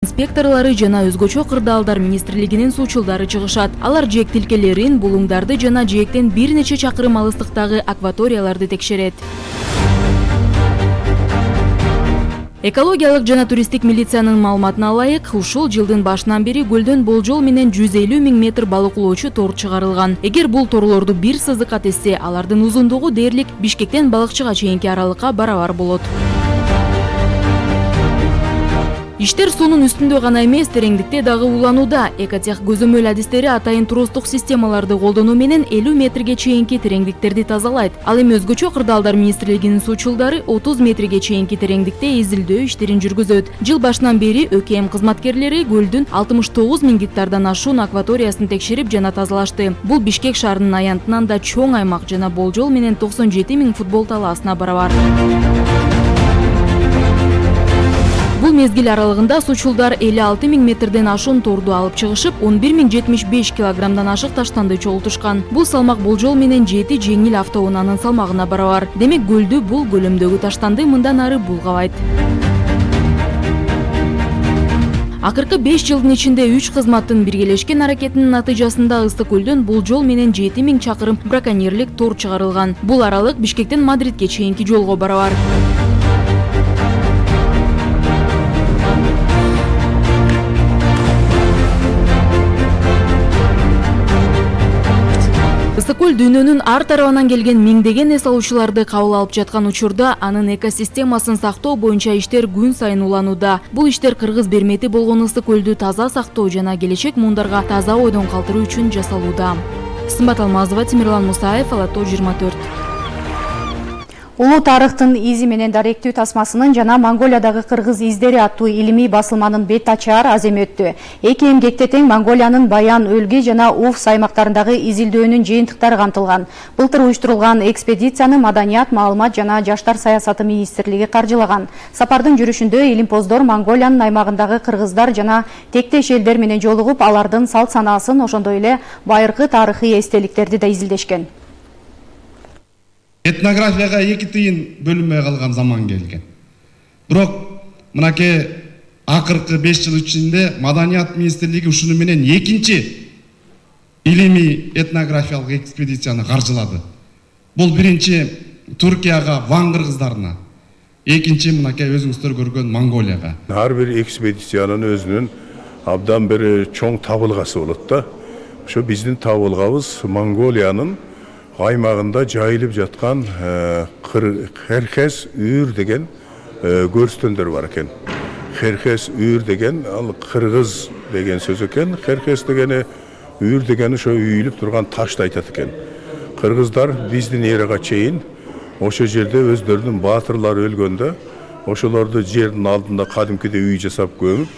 Инспекторлары жана өзгөчө кырдаалдар министрлигинин суучулдары чыгышат. Алар жээк тилкелерин, булуңдарды жана жээктен бир нече чакырым алыстыктагы акваторияларды текшерет. Экологиялык жана туристтик милициянын маалыматына ылайык, ушул жылдын башынан бери көлдөн болжол менен 150 000 метр балыклоочу тор чыгарылган. Эгер бул торлорду бир сызыкка тессе, алардын узундугу дээрлик Бишкектен балыкчыга чейинки аралыкка барабар болот. Иштер суунун үстүндө гана эмес, тереңдикте дагы уланууда. Экотех көзөмөл адистери атайын тростук системаларды колдонуу менен 50 метрге чейинки тереңдиктерди тазалайт. Ал эми өзгөчө кырдаалдар министрлигинин суучулдары 30 метрге чейинки тереңдикте изилдөө иштерин жүргүзөт. Жыл башынан бери ÖKM кызматкерлери көлдүн 69 000 гектардан ашуун акваториясын текшерип жана тазалашты. Бул Бишкек шаарынын аянтынан да чоң аймак жана болжол менен 97 000 футбол талаасына барабар. Бул мезгил аралыгында суучулдар 56 000 метрден ашуун торду алып чыгышып, 11 075 килограммдан ашык таштанды чогултушкан. Бул салмак болжол менен 7 жеңил автоунаанын салмагына барабар. Демек көлдү бул көлөмдөгү таштанды мындан ары булгабайт. Акыркы 5 жылдын ичинде 3 кызматтын биргелешкен аракетинин натыйжасында Ыстык көлдөн болжол менен 7 000 чакырым браконьерлик тор чыгарылган. Бул аралык Бишкектен Мадридке чейинки жолго барабар. Ыстык көл дүйнөнүн ар тарабынан келген миңдеген эс алуучуларды кабыл алып жаткан учурда анын экосистемасын сактоо боюнча иштер күн сайын уланууда. Бул иштер кыргыз бермети болгон Ыстык көлдү таза сактоо жана келечек муундарга таза ойдон калтыруу үчүн жасалууда. Сымбат Алмазова, Темирлан Мусаев, Ала Тоо 24. Улуу тарыхтын изи менен даректүү тасмасынын жана Монголиядагы кыргыз издери аттуу илимий басылманын бет ачаар аземи өттү. 2 эмгекте тең Монголиянын Баян, Өлгий жана Уфс аймактарындагы изилдөөнүн жыйынтыктары камтылган. Былтыр уюштурулган экспедицияны Маданият, маалымат жана жаштар саясаты министрлиги каржылаган. Сапардын жүрүшүндө илимпоздор Монголиянын аймагындагы кыргыздар жана тектеш элдер менен жолугуп, алардын салт санаасын, ошондой эле байыркы тарыхый эстеликтерди да изилдешкен. Этнографияга 2 тыйын бөлүнмөй калган заман келген. Бирок мынакей акыркы 5 жыл ичинде Маданият министрлиги ушуну менен 2-чи илимий этнографиялык экспедицияны каржылады. Бул биринчи Туркияга, Ван кыргыздарына, экинчи мынакей өзүңүздөр көргөн Монголияга. Ар бир экспедициянын өзүнүн абдан бир чоң табылгасы болот да. Ошо биздин табылгабыз Монголиянын аймагында жайылып жаткан Херхес үйүр деген көрстөндөр бар экен. Херхес үйүр деген ал кыргыз деген сөз экен. Херхес дегени үйүр дегени ошо үйүлүп турган ташты айтат экен. Кыргыздар биздин эрага чейин ошо жерде өздөрүнүн баатырлары өлгөндө ошолорду жердин алдында кадимкидей үй жасап көмүп,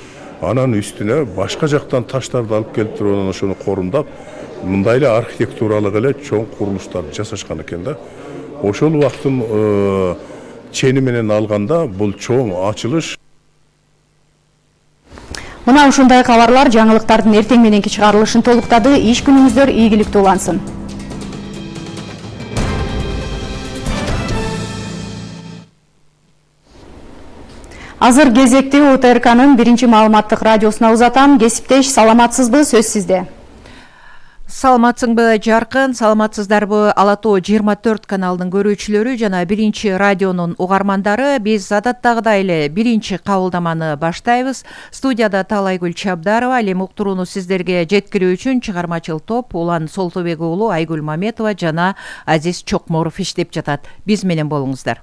анан үстүнө башка жактан таштарды алып келип туруп анан ошону корумдап, мындай эле архитектуралык эле чоң курулуштарды жасашкан экен да. Ошол убакыттын чени менен алганда бул чоң ачылыш. Мына ушундай кабарлар жаңылыктардын эртең мененки чыгарылышын толуктады. Иш күнүңүздөр ийгиликтүү улансын. Азыр кезекти УТРКнын биринчи маалыматтык радиосуна узатам. Кесиптеш, саламатсызбы? Сөз сизде. Саламатсыңбы жаркын, саламатсыздарбы Ала Тоо 24 каналынын көрүүчүлөрү жана биринчи радионун угармандары. Биз адаттагыдай эле биринчи кабылдаманы баштайбыз. Студияда Талайгүл Чабдарова, ал эми уктурууну сиздерге жеткирүү үчүн чыгармачыл топ Улан Солтубек уулу Айгүл Маметова жана Азиз Чокморов иштеп жатат. Биз менен болуңуздар.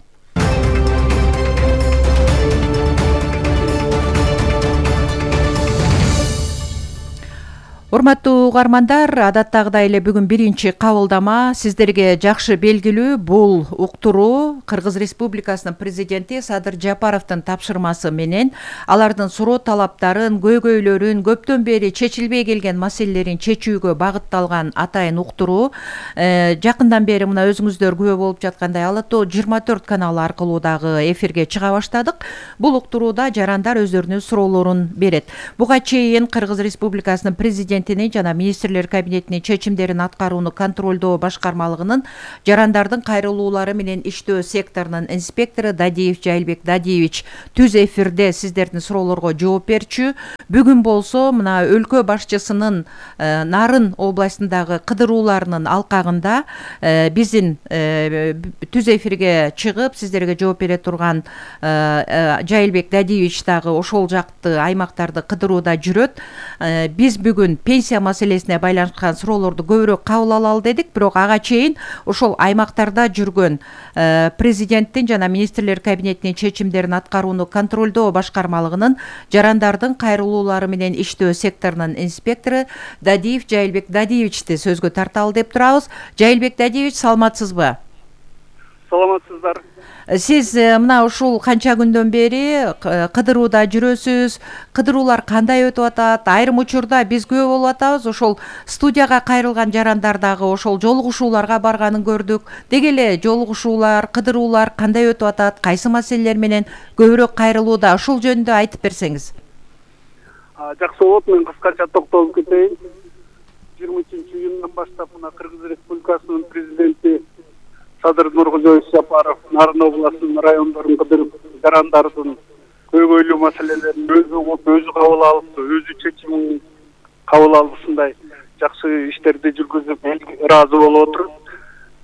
Урматтуу угармандар, адаттагыдай эле бүгүн биринчи кабылдама сиздерге жакшы белгилүү. Бул уктуруу Кыргыз Республикасынын президенти Садыр Жапаровдун тапшырмасы менен алардын суроо талаптарын, көйгөйлөрүн, көптөн бери чечилбей келген маселелерин чечүүгө багытталган атайын уктуруу. Жакындан бери мына өзүңүздөр күбө болуп жаткандай Ала Тоо 24 каналы аркылуу дагы эфирге чыга баштадык. Бул уктурууда жарандар өздөрүнүн суроолорун берет. Буга чейин Кыргыз Республикасынын президенти президентинин жана министрлер кабинетинин чечимдерин аткарууну контролдоо башкармалыгынын жарандардын кайрылуулары менен иштөө секторунун инспектору Дадиев Жайылбек Дадиевич түз эфирде сиздердин суроолорго жооп берчү. Бүгүн болсо мына өлкө башчысынын Нарын областындагы кыдырууларынын алкагында биздин түз эфирге чыгып сиздерге жооп бере турган Жайылбек Дадиевич дагы ошол жакты аймактарды кыдырууда жүрөт. Биз бүгүн пенсия маселесине байланышкан суроолорду көбүрөөк кабыл алалы дедик, бирок ага чейин ошол аймактарда жүргөн президенттин жана министрлер кабинетинин чечимдерин аткарууну контролдоо башкармалыгынын жарандардын кайрылуулары менен иштөө секторунун инспектору Дадиев Жайылбек Дадиевичти сөзгө тарталы деп турабыз. Жайылбек Дадиевич, саламатсызбы? Саламатсыздар. Сиз мына ушул канча күндөн бери кыдырууда жүрөсүз. Кыдыруулар кандай өтүп атат? Айрым учурда биз күбө болуп атабыз. Ошол студияга кайрылган жарандар дагы ошол жолугушууларга барганын көрдүк. Деги эле жолугушуулар, кыдыруулар кандай өтүп атат? Кайсы маселелер менен көбүрөөк кайрылууда? Ушул жөнүндө айтып берсеңиз. Жакшы болот, мен кыскача токтолуп кетейин. 23-июндан баштап мына Кыргыз Республикасынын президенти Садыр Нуркожоевич Жапаров Нарын областынын райондорун кыдырып, жарандардын көйгөйлүү маселелерин өзү кабыл алып, өзү чечимин кабыл алып, ушундай жакшы иштерди жүргүзүп, ыраазы болуп отуруп.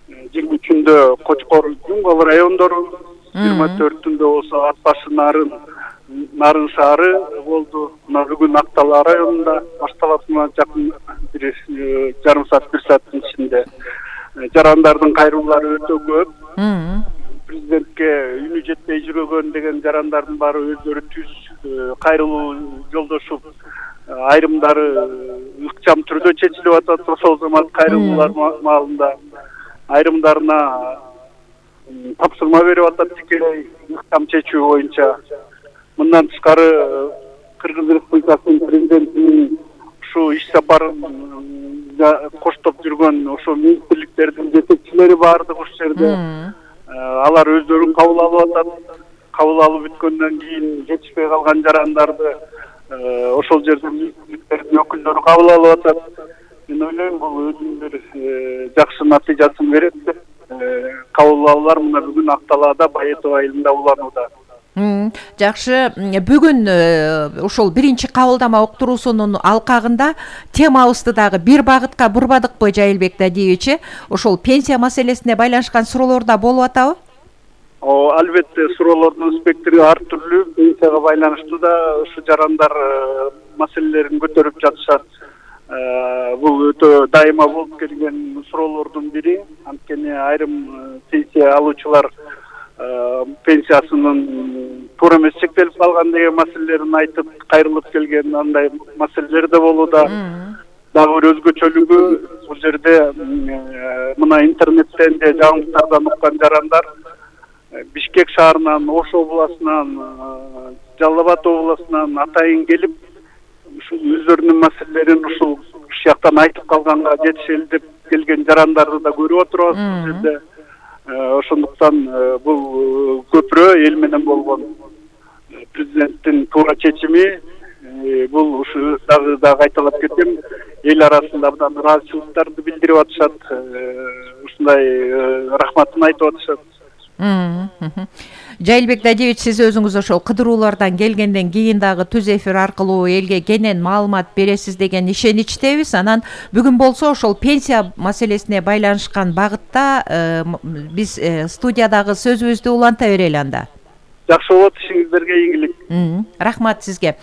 23-үндө Кочкор, Жумгал райондору, 24-түндө болсо Ат башы Нарын шаары болду. Мына бүгүн Актала районунда башталат, жакын жарым саат, 1 сааттын ичинде. Жарандардын кайрылуулары өтө көп. Президентке үнү жетпей жүргөн деген жарандардын баары өздөрү түз кайрылуу жолдошуп, айрымдары ыкчам түрдө чечилип атат. Ошол замат кайрылуулар маалында айрымдарына тапшырма берип атат, тикелей ыкчам чечүү боюнча. Мындан тышкары Кыргыз Республикасынын президентинин ушу иш сапарын коштоп жүргөн ошо министрликтердин жетекчилери баардык ушул жерде. Алар өздөрү кабыл алып атат. Кабыл алып бүткөндөн кийин жетишпей калган жарандарды ошол жерде министрликтердин өкүлдөрү кабыл алып атат. Мен ойлойм, бул өзүнүн бир жакшы натыйжасын берет деп. Кабыл алуулар мына бүгүн Акталаада Баетова айылында уланууда. Жакшы, бүгүн ошол биринчи кабылдама уктуруусунун алкагында темабызды дагы бир багытка бурбадыкпы, Жайылбек Дадиевич? Ошол пенсия маселесине байланышкан суроолор да болуп атабы? Албетте, суроолордун спектри ар түрлүү. Пенсияга байланыштуу да ушу жарандар маселелерин көтөрүп жатышат. Бул өтө дайыма болуп келген суроолордун бири. Анткени айрым пенсия алуучулар пенсиясынын туура эмес чектелип калган деген маселелерин айтып кайрылып келген андай маселелер да болууда. Дагы бир өзгөчөлүгү бул жерде мына интернеттен же жаңылыктардан уккан жарандар Бишкек шаарынан, Ош областынан, Жалал Абад областынан атайын келип, өздөрүнүн маселелерин ушул жактан айтып калганга жетишели деп келген жарандарды да көрүп отурабыз бул жерде. Ошондуктан бул көпүрө эл менен болгон президенттин туура чечими, бул ушу дагы кайталап кетем, эл арасында абдан ыраазычылыктарды билдирип атышат, ушундай рахматын айтып атышат. Жайылбек Дадиевич, сиз өзүңүз ошол кыдыруулардан келгенден кийин дагы түз эфир аркылуу элге кенен маалымат бересиз деген ишеничтебиз. Анан бүгүн болсо ошол пенсия маселесине байланышкан багытта биз студиядагы сөзүбүздү уланта берели анда. Жакшы болот, ишиңиздерге ийгилик. Рахмат сизге.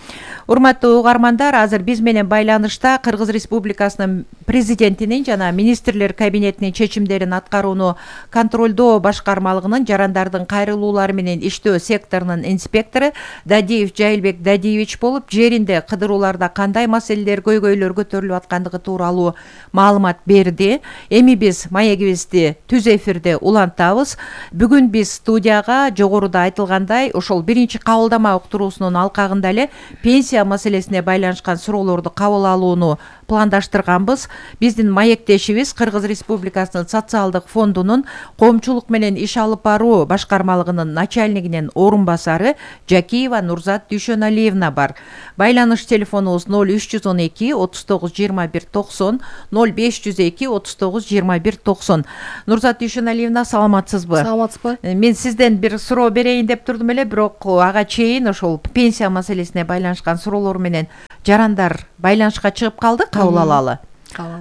Урматтуу угармандар, азыр биз менен байланышта Кыргыз Республикасынын президентинин жана министрлер кабинетинин чечимдерин аткарууну контролдоо башкармалыгынын жарандардын кайрылуулары менен иштөө секторунун инспектору Дадиев Жайылбек Дадиевич болуп, жеринде кыдырууларда кандай маселелер, көйгөйлөр көтөрүлүп аткандыгы тууралуу маалымат берди. Эми биз маегибизди түз эфирде улантабыз. Бүгүн биз студияга жогоруда айтылгандай ошол биринчи кабылдама уктуруусунун алкагында эле пенсия маселесине байланышкан суроолорду кабыл алууну пландаштырганбыз. Биздин маектешибиз Кыргыз Республикасынын социалдык фондунун коомчулук менен иш алып баруу башкармалыгынын начальнигинин орун басары Жакиева Нурзат Дүйшөналиевна бар. Байланыш телефонубуз 0312 39 21 90 0502 39 21 90. Нурзат Дүйшөналиевна, саламатсызбы? Саламатсызбы? Мен сизден бир суроо берейин деп турдум эле, бирок ага чейин ошол пенсия маселесине байланышкан суроолор менен жарандар байланышка чыгып калды, кабыл алалы.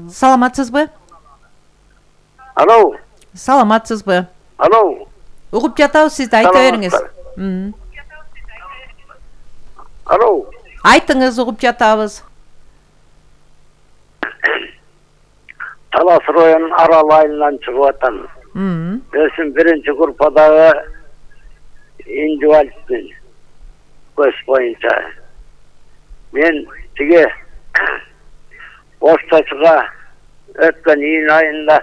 Саламатсызбы? Алло. Саламатсызбы? Алло. Угуп жатабыз, сизди, айта бериңиз. Алло. Айтыңыз, угуп жатабыз. Талас районунун Арал айылынан чыгып атам. Өзүм биринчи группадагы инвалидмин. Көз боюнча. Мен тиги Оштачыга өткөн июнь айында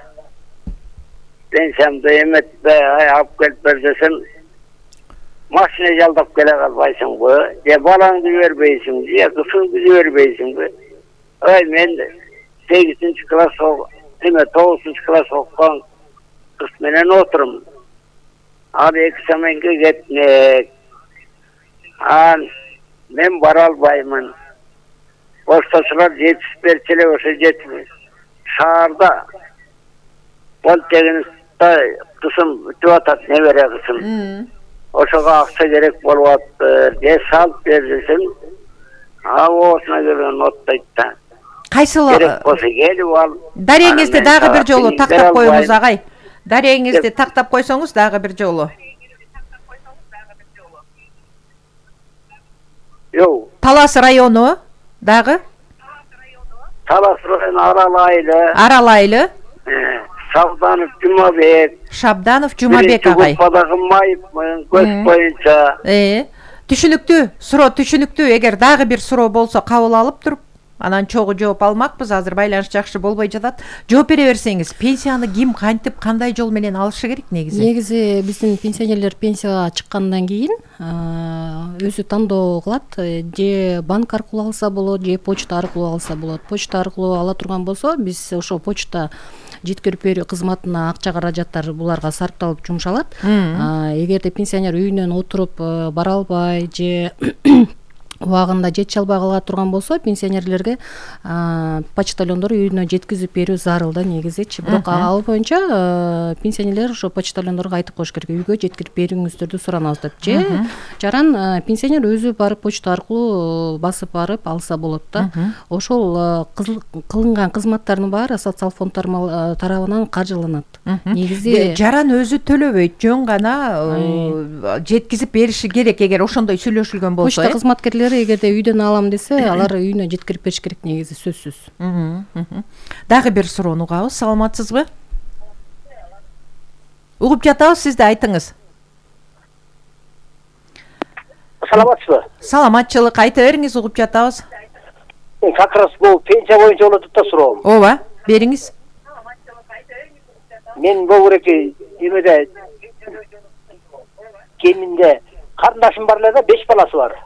пенсиямды эметпей алып келип бер десем, машина жалдап келе калбайсыңбы, же балаңды жибербейсиңби, же кызыңды жибербейсиңби? Мен 8-ci класс, 9-ci класс окуган кыз менен отурум. Ал экзаменге кетмек. Мен бара албаймын. Оштачылар жетишип берчү эле, ошо жетпей. Шаарда полтехникте кызым өтүп атат, небере кызым. Ошого акча керек болуп атты. Же салып бер десем, осуна келген оттойт да. Кайсыл керек болсо келип ал. Дарегиңизди дагы бир жолу тактап коюңуз, агай. Дарегиңизди тактап койсоңуз дагы бир жолу. Жок. Талас району дагы? Талас району Арал айылы. Арал айылы. Шабданов Жумабек. Шабданов Жумабек агай. Группадагы майыпмын, көз боюнча. Түшүнүктүү, суроо түшүнүктүү. Эгер дагы бир суроо болсо кабыл алып туруп, анан чогуу жооп алмакпыз. Азыр байланыш жакшы болбой жатат. Жооп бере берсеңиз, пенсияны ким, кантип, кандай жол менен алышы керек негизи? Негизи биздин пенсионерлер пенсияга чыккандан кийин өзү тандоо кылат. Же банк аркылуу алса болот, же почта аркылуу алса болот. Почта аркылуу ала турган болсо, биз ошо почта жеткирип берүү кызматына акча каражаттар буларга сарпталып жумшалат. Эгерде пенсионер үйүнөн отуруп бара албай же убагында жетише албай кала турган болсо, пенсионерлерге почтальондор үйүнө жеткизип берүү зарыл да негизичи. Бирок ал боюнча пенсионерлер ошо почтальондорго айтып коюш керек, үйгө жеткирип берүүңүздөрдү суранабыз деп. Же жаран пенсионер өзү барып почта аркылуу басып барып алса болот да. Ошол кылынган кызматтардын баары социал фонд тарабынан каржыланат. Негизи жаран өзү төлөбөйт, жөн гана жеткизип бериши керек, эгер ошондой сүйлөшүлгөн болсо. Почта кызматкерлери эгерде үйдөн алам десе, алар үйүнө жеткирип бериш керек негизи, сөзсүз. Дагы бир суроону угабыз. Саламатсызбы? Угуп жатабыз, сизди, айтыңыз. Саламатсызбы? Саламатчылык, айта бериңиз, угуп жатабыз. Как раз бул пенсия боюнча болот да суроом. Ооба, бериңиз. Мен богуреки эмеде кеминде карындашым бар эле да, 5 баласы бар.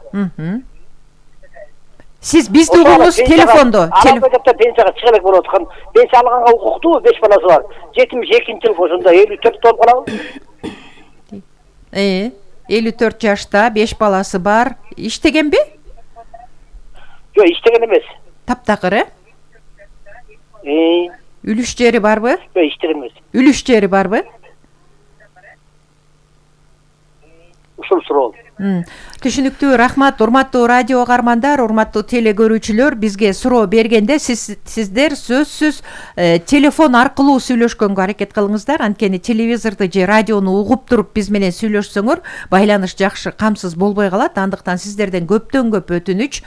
Сиз бизди угуңуз телефондо. Алакөтөктө пенсияга чыга элек болуп аткан. Пенсия алганга укуктуу, 5 баласы бар. 72-жыл ошондо 54 болуп калабы. 54 жашта, 5 баласы бар. Иштегенби? Жок, иштеген эмес. Таптакыр, Үлүш жери барбы? Жок, иштеген эмес. Үлүш жери барбы? Ушул суроо. Түшүнүктүү, рахмат. Урматтуу радио каармандар, урматтуу теле көрүүчүлөр, бизге суроо бергенде сиздер сөзсүз телефон аркылуу сүйлөшкөнгө аракет кылыңыздар. Анткени телевизорду же радиону угуп туруп биз менен сүйлөшсөңөр, байланыш жакшы камсыз болбой калат. Андыктан сиздерден көптөн көп өтүнүч,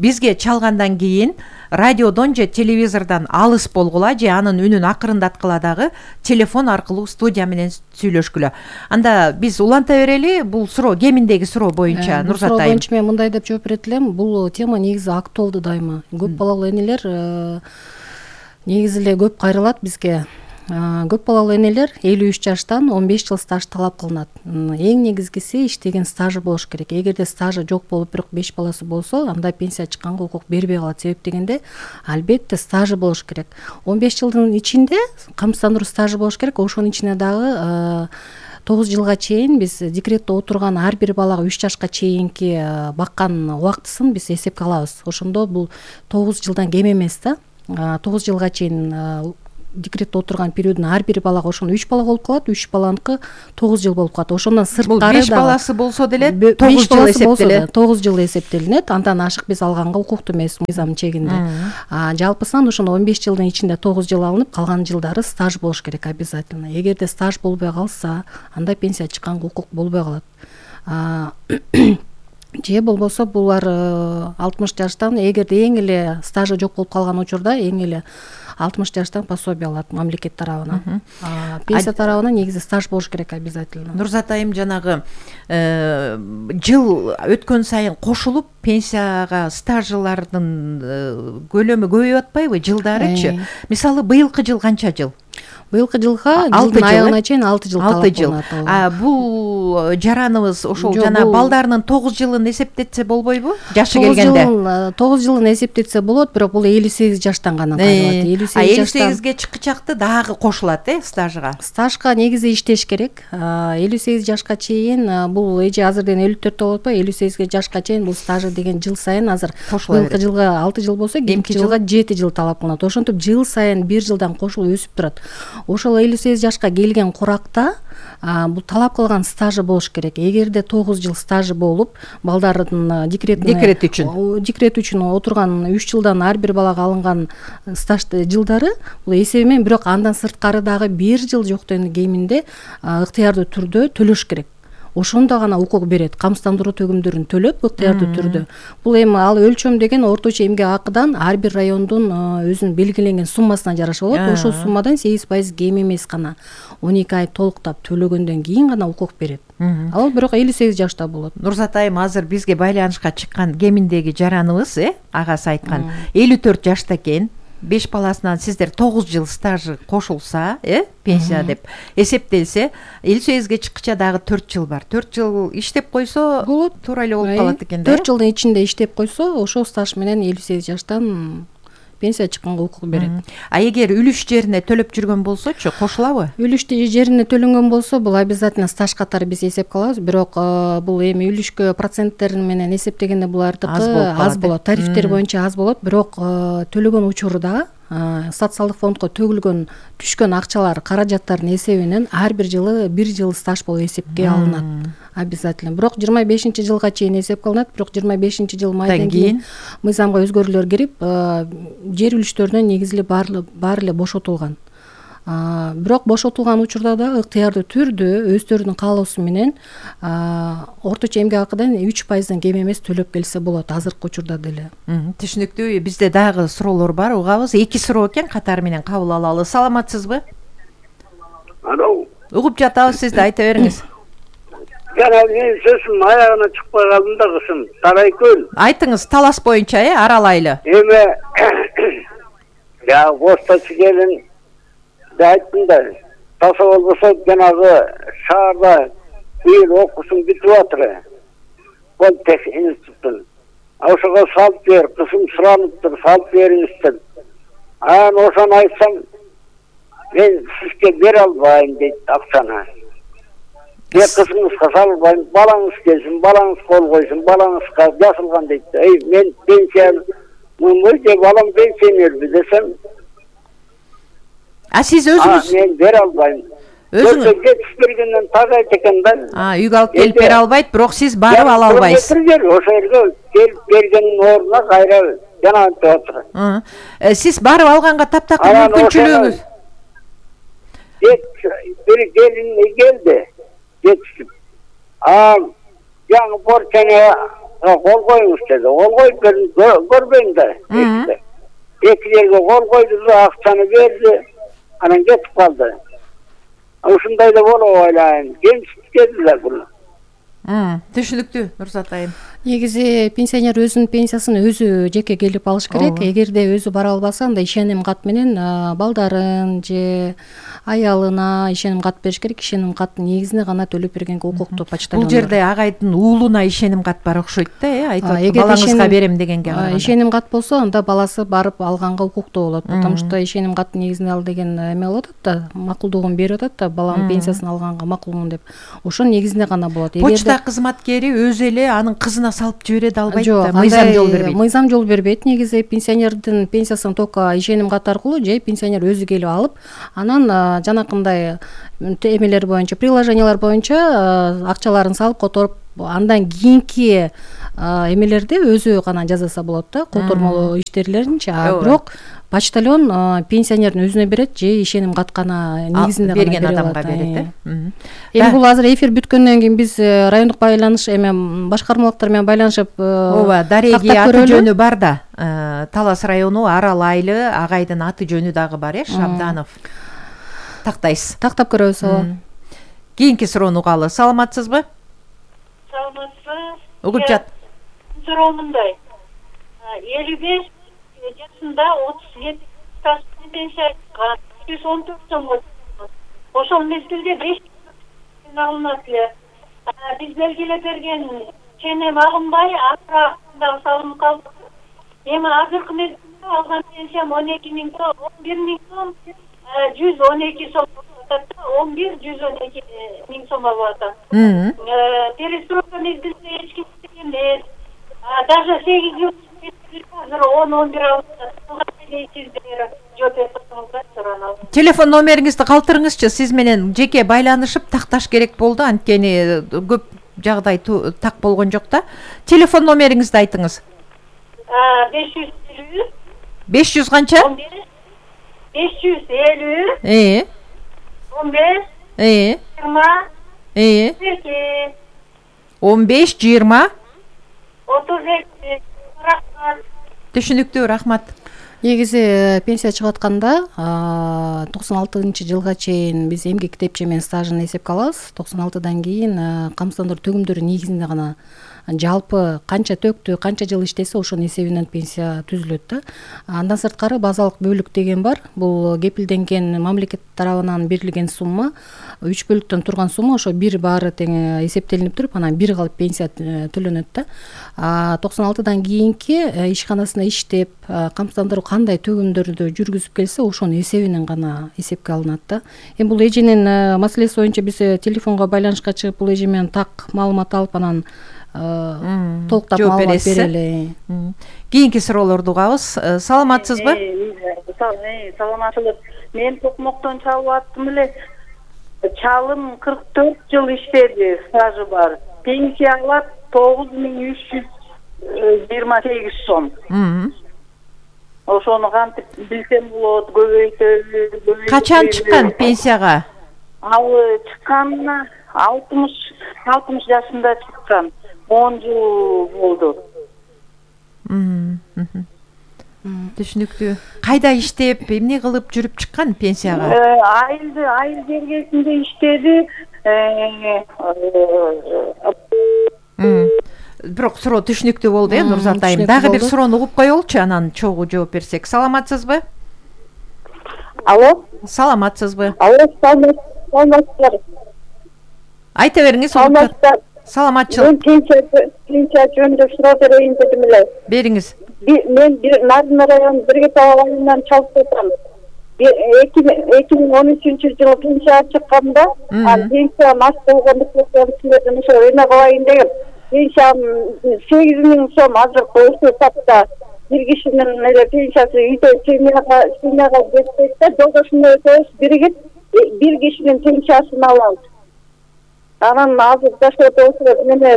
бизге чалгандан кийин радиодон же телевизордон алыс болгула, же анын үнүн акырындаткыла дагы телефон аркылуу студия менен сүйлөшкүлө. Анда биз уланта берели. Бул суроо кеминдеги суроо боюнча Нурзат айым. Суроо боюнча мен мындай деп жооп берет элем. Бул тема негизи актуалдуу дайыма. Көп балалуу энелер негизи эле көп кайрылат бизге. көп балалуу энелер 53 жаштан 15 жыл стаж талап кылынат. Эң негизгиси иштеген стажы болуш керек. Эгерде стажы жок болуп, бирок 5 баласы болсо, анда пенсия чыкканга укук бербей калат. Себеп дегенде, албетте стажы болуш керек. 15 жылдын ичинде камсыздандыруу стажы болуш керек. Ошонун ичине дагы 9 жылга чейин биз декретте отурган ар бир балага 3 жашка чейинки баккан убактысын биз эсепке алабыз. Ошондо бул 9 жылдан кем эмес да. 9 жылга чейин декретте отурган периодун ар бир балага ошондо 3 бала болуп калат, 3 баланыкы 9 жыл болуп калат. Ошондон сырткары 5 баласы болсо деле 9 жыл эсептелет. 9 жыл эсептелинет. Андан ашык биз алганга укуктуу эмес мыйзам чегинде. Жалпысынан ошондо 15 жылдын ичинде 9 жыл алынып, калган жылдары стаж болуш керек обязательно. Эгерде стаж болбой калса, анда пенсия чыкканга укук болбой калат. Же болбосо булар 60 жаштан, эгерде эң эле стажы жок болуп калган учурда эң эле 60 жаштан пособие алат мамлекет тарабынан. Пенсия тарабынан негизи стаж болуш керек обязательно. Нурзат айым, жанагы жыл өткөн сайын кошулуп пенсияга стажылардын көлөмү көбөйүп атпайбы, жылдарычы? Мисалы, быйылкы жыл канча жыл? Быйылкы жылга жылдын аягына чейин 6 жыл талап кылынат. Бул жараныбыз ошол жана балдарынын 9 жылын эсептетсе болбойбу? Жашы келгенде. 9 жылын эсептетсе болот, бирок бул 58 жаштан гана кайрылат. 58ге чыккычакты дагы кошулат, стажга. Стажга негизи иштеш керек. 58 жашка чейин бул эже азырден 54 болуп атпайбы? 58 жашка чейин бул стажы деген жыл сайын азыр быйылкы жылга 6 жыл болсо, кийинки жылга 7 жыл талап кылынат. Ошентип жыл сайын 1 жылдан кошулуп өсүп турат. Ошол 58 жашка келген куракта бул талап кылган стажы болуш керек. Эгерде 9 жыл стажы болуп, балдардын декрет үчүн отурган 3 жылдан ар бир балага алынган стаж жылдары, бул эсеби менен, бирок андан сырткары дагы 1 жыл жоктон кийиминде ыктыярдуу түрдө төлөш керек. Ошондо гана укук берет. Камсыздандыруу төгүмдөрүн төлөп ыктыярдуу түрдө. Бул эми ал өлчөм деген орточо эмгек акыдан ар бир райондун өзүнүн белгиленген суммасына жараша болот. Ошол суммадан 8% кем эмес гана 12 ай толуктап төлөгөндөн кийин гана укук берет. Ал бирок 58 жашта болот. Нурзат айым, азыр бизге байланышка чыккан кеминдеги жараныбыз, агасы айткан 54 жашта экен. 5 баласынан сиздер 9 жыл стажы кошулса, пенсия деп эсептелсе, 58ге чыккыча дагы 4 жыл бар. 4 жыл иштеп койсо болот, туура эле болуп калат экен да. 4 жылдын ичинде иштеп койсо, ошол стаж менен 58 жаштан пенсия чыкканга укук берет. Эгер үлүш жерине төлөп жүргөн болсочу, кошулабы? Үлүш жерине төлөнгөн болсо, бул обязательно стаж катары биз эсепке алабыз, бирок бул эми үлүшкө проценттер менен эсептегенде булардыкы аз болот. Тарифтер боюнча аз болот, бирок төлөгөн учурда социалдык фондко төгүлгөн түшкөн акчалар, каражаттардын эсебинен ар бир жылы 1 жыл стаж болуп эсепке алынат. Обязательно. Бирок 25 жылга чейин эсепке алынат, бирок 25 жыл майдан кийин мыйзамга өзгөрүүлөр кирип, жер үлүштөрүнөн негизли баары эле бошотулган. Бирок бошотулган учурда да ыктыярдуу түрдө өздөрүнүн каалоосу менен орточо эмгек акыдан 3%дан кем эмес төлөп келсе болот азыркы учурда деле. Түшүнүктүү. Бизде дагы суроолор бар, угабыз. 2 суроо экен, катары менен кабыл алалы. Саламатсызбы? Алло. Угуп жатабыз, сизди айта бериңиз. Жана мен сөзүм аягына чыкпай калдым да кызым. Тарайкөл. Айтыңыз, талас боюнча, аралайлы. Эми я постачы келин айттым да, таса болбосо жанагы шаарда быйыл окуусун бүтүп атыр. Политех институтун. Ошого салып бер, кызым сураныптыр, салып бериңиз деп. Ошону айтсам, мен сизге бере албайм дейт акчаны. Мен кызыңызга салбайм, балаңыз келсин, балаңыз кол койсун, балаңызга жасылган дейт. Мен пенсия мындай балам пенсионерби десем, сиз өзүңүз мен бере албайм. Өзүңүз жетишпегенден так айт экен да. Үйгө алып келип бере албайт, бирок сиз барып ала албайсыз. Ошо жерге келип бергенин ордуна кайра жанагынтип атыр. Сиз барып алганга таптакыр мүмкүнчүлүгүңүз. Бир келин келди, жетишип. Жаңы порчаны кол коюңуз деди. Кол коюп көрбөйм да. Эки жерге кол койду да, акчаны берди. Анан кетип калды. Ушундай да болуп ойлойм. Кемсиздик дедилер буну. Түшүнүктүү, Нурзат айым. Негизи пенсионер өзүнүн пенсиясын өзү жеке келип алыш керек. Эгерде өзү бара албаса, анда ишеним кат менен балдарын же аялына ишеним кат бериш керек. Ишеним каттын негизинде гана төлөп бергенге укуктуу почтальон. Бул жерде агайдын уулуна ишеним кат бар окшойт да, айтып балаңызга берем дегенге караганда. Ишеним кат болсо, анда баласы барып алганга укуктуу болот. Потому что ишеним каттын негизинде ал деген эме болот да, макулдугун берип атат да, баланын пенсиясын алганга макулмун деп. Ошонун негизинде гана болот. Почта кызматкери өзү эле анын кызына салып жибере да албайт да, мыйзам жол бербейт. Мыйзам жол бербейт. Негизи пенсионердин пенсиясын только ишеним кат аркылуу же пенсионер өзү келип алып, анан жанакындай эмелер боюнча, приложениялар боюнча акчаларын салып которуп, андан кийинки эмелерди өзү гана жасаса болот да, котормолоо иштерилеринчи. Бирок почтальон пенсионердин өзүнө берет же ишеним кат гана негизинде гана берген адамга берет. Эми бул азыр эфир бүткөндөн кийин биз райондук байланыш башкармалыктар менен байланышып, ооба, дареги аты жөнү бар да. Талас району Арал айылы агайдын аты жөнү дагы бар, Шабданов. Тактайсыз. Тактап көрөбүз. Ооба. Кийинки суроону угалы. Саламатсызбы? Саламатсыз. Угуп жат. Суроо мындай. 55 жашында 37 пенсияга 114 сом. Ошол мезгилде 5 алынат эле. Биз белгилеп берген ченем алынбай, акырында салынып калды. Эми азыркы мезгилде алган пенсиям 12 миң сом, 11 миң сом, 112 сом. 11-112 миң сом алып атат. Перестройка мезгилинде эч ким эмес. Даже 8 жыл азыр 10-11 алып атат. Телефон номериңизди калтырыңызчы, сиз менен жеке байланышып такташ керек болду, анткени көп жагдай так болгон жок да. Телефон номериңизди айтыңыз. 550 500 канча? 550 15 20 15 20 32. Рахмат. Түшүнүктүү, рахмат. Негизи пенсия чыгып атканда 96-жылга чейин биз эмгек китепче менен стажын эсепке алабыз. 96-дан кийин камсыздандыруу төгүмдөрү негизинде гана жалпы канча төктү, канча жыл иштесе ошонун эсебинен пенсия түзүлөт да. Андан сырткары базалык бөлүк деген бар. Бул кепилденген мамлекет тарабынан берилген сумма, 3 бөлүктөн турган сумма, ошо бир баары тең эсептелинип туруп, анан бир калып пенсия төлөнөт да. 96-дан кийинки ишканасында иштеп, камсыздандыруу кандай төгүмдөрдү жүргүзүп келсе, ошонун эсебинен гана эсепке алынат да. Эми бул эженин маселеси боюнча биз телефонго байланышка чыгып, бул эже менен так маалымат алып, анан толуктап маалымат берели. Кийинки суроолорду угабыз. Саламатсызбы? Саламатсызбы. Мен токмоктон чалып аттым эле. Чалым 44 жыл иштеди, стажы бар. Пенсия алат 9328 сом. Ошону кантип билсем болот, көбөйтөлү. Качан чыккан пенсияга? Ал чыкканына 60 жашында чыккан. 10 жыл болду. Түшүнүктүү. Кайда иштеп, эмне кылып жүрүп чыккан пенсияга? Айыл жергесинде иштеди. Бирок суроо түшүнүктүү болду, Нурзат айым. Дагы бир суроону угуп коелучу, анан чогуу жооп берсек. Саламатсызбы? Алло? Саламатсызбы? Алло, саламатсыздар. Айта бериңиз. Саламатчылык. Мен пенсия жөнүндө суроо берейин дедим эле. Бериңиз. Мен Нарын району Биргетал айылынан чалып жатам. 2013-жылы пенсия чыкканда, пенсия мас болгондуктан силерден ошо эме кылайын дегем. Пенсия 8 миң сом азыркы ошол тапта бир кишинин эле пенсиясы үйдө семьяга жетпейт да, жолдошумду өтөбүз биригип бир кишинин пенсиясын алабыз. Анан азыр жашоодо ошо эме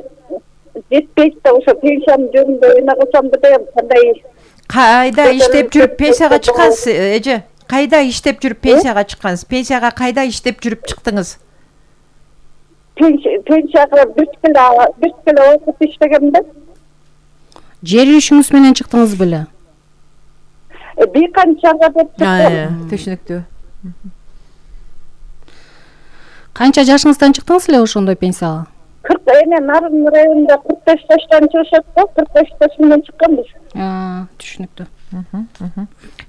жетпейт да, ошо пенсиянын жөнүндө эме кылсам дегем, кандай. Кайда иштеп жүрүп пенсияга чыккансыз, эже? Кайда иштеп жүрүп пенсияга чыккансыз? Пенсияга кайда иштеп жүрүп чыктыңыз? Пенсияга бир келе окуп иштегем да. Жер үйүшүңүз менен чыктыңыз беле? Бир канчага деп чыктым. Түшүнүктүү. Канча жашыңыздан чыктыңыз эле ошондой пенсияга? Нарын районунда 45 жаштан чыгышат го, 45 жаш менен чыкканбыз. Түшүнүктүү.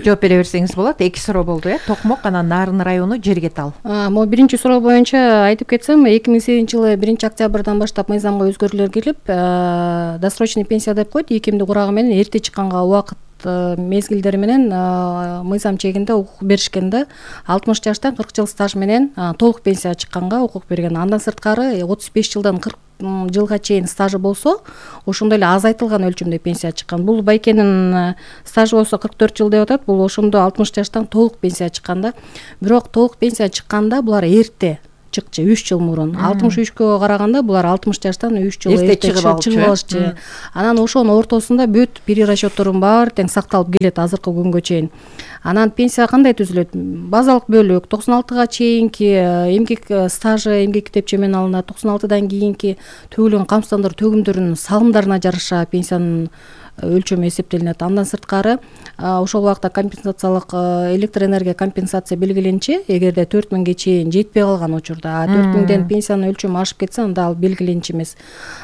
Жооп бере берсеңиз болот. 2 суроо болду, Токмок анан Нарын району Жергетал. Могу биринчи суроо боюнча айтып кетсем, 2008-жылы 1-октябрдан баштап мыйзамга өзгөрүүлөр кирип, досрочный пенсия деп коет, 2 эмди курагы менен эрте чыкканга убакыт мезгилдери менен мыйзам чегинде укук беришкен да. 60 жаштан 40 жыл стаж менен толук пенсия чыкканга укук берген. Андан сырткары 35 жылдан 40 жылга чейин стажы болсо, ошондой эле азайтылган өлчөмдө пенсия чыккан. Бул байкенин стажы болсо 44 жыл деп атат, бул ошондо 60 жаштан толук пенсия чыккан да. Бирок толук пенсия чыкканда булар эрте чыкчы, 3 жыл мурун. 63кө караганда булар 60 жаштан 3 жыл эрте чыгып алышчы. Анан ошонун ортосунда бүт перерасчеттордун баары тең сакталып келет азыркы күнгө чейин. Анан пенсия кандай түзүлөт? Базалык бөлүк 96га чейинки эмгек стажы, эмгек китепче менен алынат. 96дан кийинки төгүлгөн камсыздандыруу төгүмдөрүнүн салымдарына жараша пенсиянын өлчөмү эсептелинет. Андан сырткары ошол убакта компенсациялык электроэнергия компенсация белгиленчи, эгерде 4000ге чейин жетпей калган учурда, 4000ден пенсиянын өлчөмү ашып кетсе, анда ал белгиленчи эмес.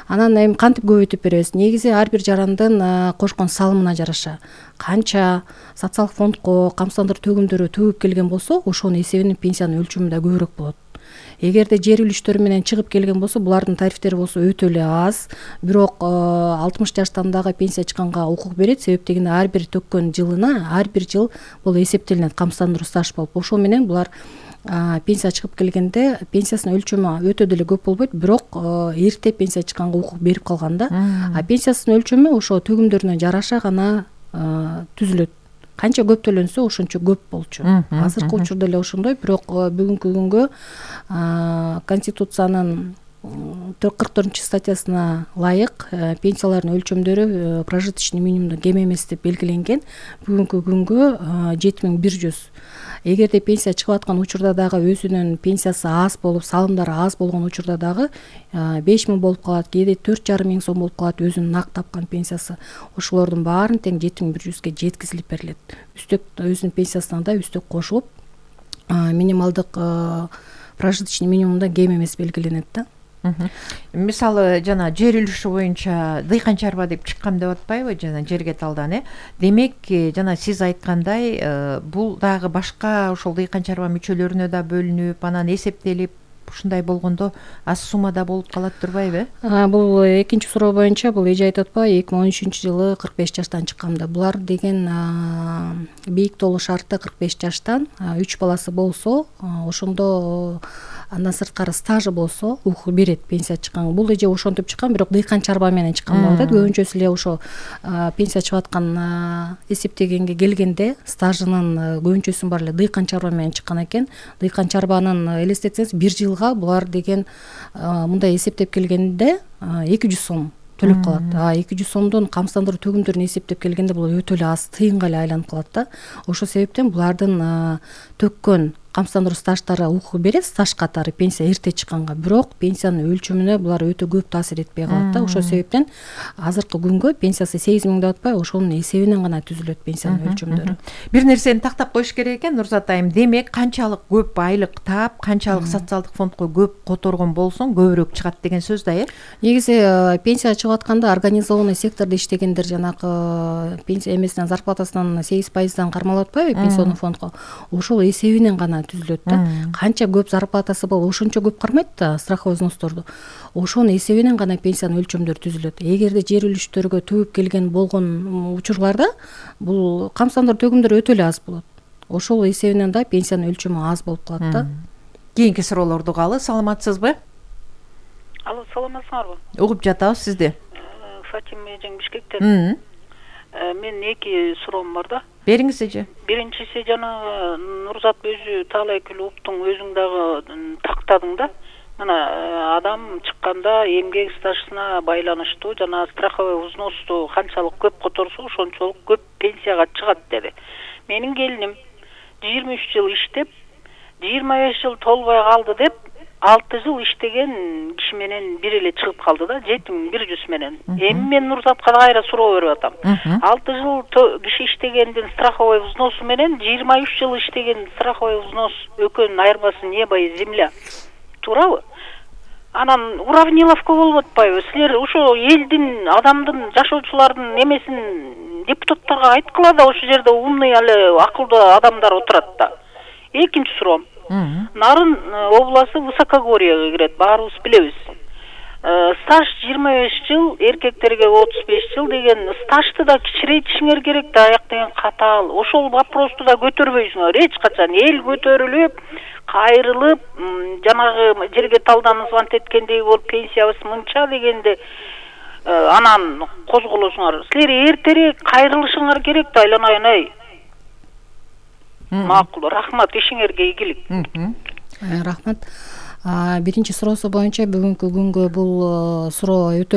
Анан эми кантип көбөйтүп беребиз? Негизи ар бир жарандын кошкон салымына жараша канча социалдык фондко камсыздандыруу төгүмдөрү төгүп келген болсо, ошонун эсебинен пенсиянын өлчөмү да көбүрөөк болот. Эгерде жер үлүштөрү менен чыгып келген болсо, булардын тарифтери болсо өтө эле аз, бирок 60 жаштан дагы пенсия чыкканга укук берет. Себеп дегенде ар бир төккөн жылына ар бир жыл бул эсептелинет камсыздандыруу стаж болуп. Ошол менен булар пенсия чыгып келгенде пенсиясынын өлчөмү өтө деле көп болбойт, бирок эрте пенсия чыкканга укук берип калганда, пенсиясынын өлчөмү ошо төгүмдөрүнө жараша гана түзүлөт. Канча көп төлөнсө ошончо көп болчу. Азыркы учурда эле ошондой, бирок бүгүнкү күнгө Конституциянын 44-статьясына ылайык пенсиялардын өлчөмдөрү прожиточный минимумдан кем эмес деп белгиленген. Бүгүнкү күнгө 7100. Эгерде пенсия чыгып аткан учурда дагы өзүнүн пенсиясы аз болуп, салымдары аз болгон учурда дагы 5000 болуп калат, кээде 4500 сом болуп калат өзүнүн нак тапкан пенсиясы. Ошолордун баарын тең 7100ге жеткизилип берилет. Үстөк өзүнүн пенсиясына да үстөк кошулуп, минималдык прожиточный минимумдан кем эмес белгиленет да. Мисалы жана жер үлүшү боюнча дыйкан чарба деп чыккам деп атпайбы, жана Жергеталдан, Демек, жана сиз айткандай, бул дагы башка ошол дыйкан чарба мүчөлөрүнө да бөлүнүп, анан эсептелип, ушундай болгондо аз суммада болуп калат турбайбы? Бул экинчи суроо боюнча бул эже айтып атпайбы, 2013-жылы 45 жаштан чыкканда. Булар деген бийик толуу шарты 45 жаштан 3 баласы болсо, ошондо андан сырткары стажы болсо укук берет пенсия чыкканга. Бул эже ошентип чыккан, бирок дыйкан чарба менен чыккан деп атат. Көбүнчөсү эле ошо пенсия чыгып аткан эсептегенге келгенде стажынын көбүнчөсүнүн баары эле дыйкан чарба менен чыккан экен. Дыйкан чарбанын элестетсеңиз 1 жылга булар деген мындай эсептеп келгенде 200 сом төлөп калат. 200 сомдон камсыздандыруу төгүмдөрүн эсептеп келгенде бул өтө эле аз, тыйынга эле айланып калат да. Ошол себептен булардын төккөн камсыздандыруу стаждары укук берет, стаж катары пенсия эрте чыкканга, бирок пенсиянын өлчөмүнө булар өтө көп таасир этпей калат да. Ошол себептен азыркы күнгө пенсиясы 8000 деп атпайбы, ошонун эсебинен гана түзүлөт пенсиянын өлчөмдөрү. Бир нерсени тактап коюш керек экен, Нурзат айым. Демек, канчалык көп айлык таап, канчалык социалдык фондко көп которгон болсоң, көбүрөөк чыгат деген сөз да, Негизи пенсия чыгып атканда организованный сектордо иштегендер жанакы пенсия эмесинен, зарплатасынан 8%дан кармалып атпайбы пенсионный фондко. Ошол эсебинен гана түзүлөт да. Канча көп зарплатасы бол, ошончо көп кармайт да страховой взносторду. Ошонун эсебинен гана пенсиянын өлчөмдөрү түзүлөт. Эгерде жер үлүштөргө төгүп келген болгон учурларда бул камсыздандыруу төгүмдөрү өтө эле аз болот. Ошол эсебинен да пенсиянын өлчөмү аз болуп калат да. Кийинки суроолорду угалы. Саламатсызбы? Алло, саламатсыңарбы? Угуп жатабыз сизди. Фатима эжең Бишкектен. Мен 2 суроом бар да. Бериңиз эже. Биринчиси жанагы Нурзат өзү таалай клубтун өзүң дагы тактадың да. Мына адам чыкканда эмгек стажына байланыштуу жана страховой взносу канчалык көп которсо ошончолук көп пенсияга чыгат деди. Менин келиним 23 жыл иштеп, 25 жыл толбой калды деп 6 жыл иштеген киши менен бир эле чыгып калды да, 7100 менен. Эми мен Нурзатка кайра суроо берип атам. 6 жыл киши иштегендин страховой взносу менен 23 жыл иштеген страховой взнос экөөнүн айырмасы небо и земля. Туурабы? анан уравниловка болуп атпайбы? Силер ошо элдин, адамдын, жашоочулардын эмесин депутаттарга айткыла да, ошол жерде умный эле акылдуу адамдар отурат да. Экинчи суроом. Нарын областы Высокогорьега кирет, баарыбыз билебиз. Стаж 25 жыл, эркектерге 35 жыл деген стажды да кичирейтишиңер керек да, аяк деген катаал. Ошол вопросту да көтөрбөйсүңөр эч качан. Эл көтөрүлүп, кайрылып, жанагы жерге талданып звонт эткендей болуп, пенсиябыз мынча дегенде анан козголосуңар. Силер эртерээк кайрылышыңар керек да, айланайын ай. Макул, рахмат, ишиңерге ийгилик. Рахмат. Биринчи суроосу боюнча бүгүнкү күнгө бул суроо өтө